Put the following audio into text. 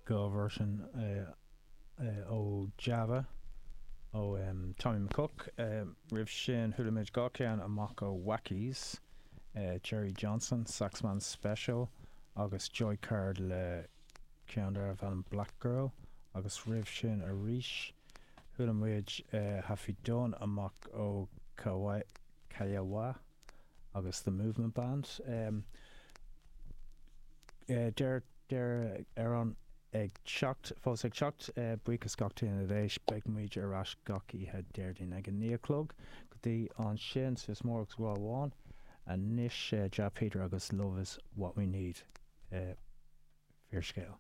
2 version ó Java ó Tommy McCook. Roimh sin chuala muid 2 ceann amach ó Wackies, Jerry Johnson, Saxman Special agus Joy Card le ceann darbh ainm Black Girl agus roimh sin arís chuala muid Haffy Dunne amach ó Kiowa agus The Movement Band. Deireadh amhrán ag teacht, fós ag teacht. Buíochas gach duine a d'éist. Beidh muid ar ais gach oíche Déardaoin ag a 9 a chlog. Go dtí ansin, suas mór agus grá amháin. Anois Jah Peter agus Love is what we need. Fíorscéal.